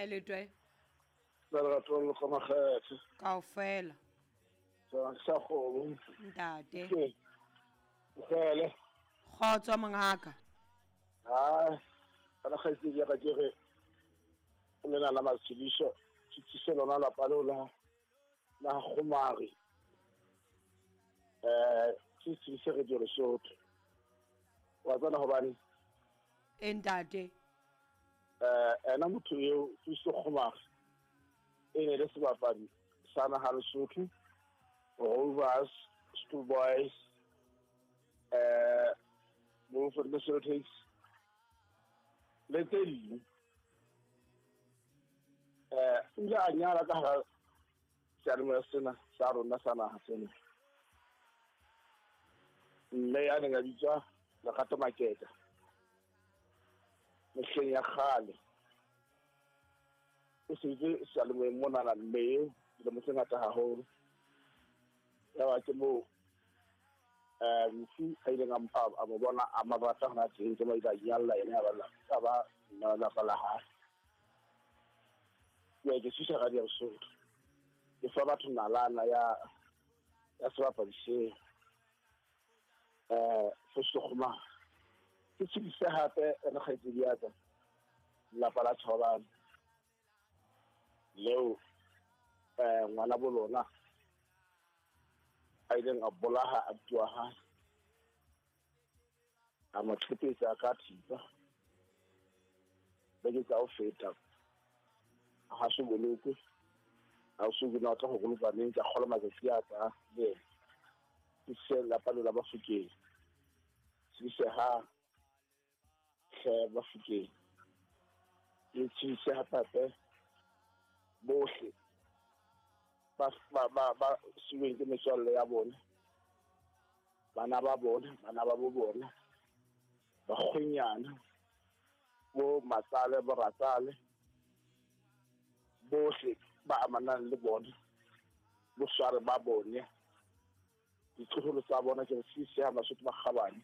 Kae letwe? Ka lerato le ka makgethe. Kaofela. Sa sa kgomo. Ntate. Ke. Kgele. Kgotso mongaka. Ha. Kana kgaitsedi ya ka ke re o lena la matshediso ke tsise lona lapa leo la la kgomare. Eh, ke tsise re di Lesotho. Wa tsana hobane E ntate. Eh ena motho eo Fiso Kgomare e ne le sebapadi sa naha Lesotho, Rovers, School Boys, eh Bloemfontein Celtics le tse ding. Eh o ile a nyala ka hara seyalemoya sena sa rona sa naha sena. Mme ya neng a bitswa Lerato Maketa mehleng ya kgale. O sebeditse seyalemoyeng monana mme eo dilemo tse ngata haholo. Ya ba ke moo eh mofu a ileng a mo bona a mo rata hona teng, ke mo ile a inyalla yena ya ba ya ba mme wa lapa la hae. Jwale ke thusa Radio Lesotho. Ke fa batho nalana ya ya sebapadi seo. Eh Festo Kgomare. Ke tshedise hape re kgaitsedi ya ka lelapa la Thobalane leo eh ngwana bo lona a ileng a bolaha abuti wa hae a mo qhepetsa ka thipa beke tsa ho feta ha so bolokwe ha o so ke na tla go bolokwa neng ka kgola matsatsi a ka le ena. Ke se lapa leo la Bafokeng se ha hle Bafokeng ke tshise hape bohle ba ba ba ba siweng ke metswalle ya bona bana ba bona bana ba bo bona bakgwenyana bo matsale bo ratsale bohle ba amanang le bona bosware ba bone ditloholo tsa bona ke re sisi ha Basotho ba kgabane.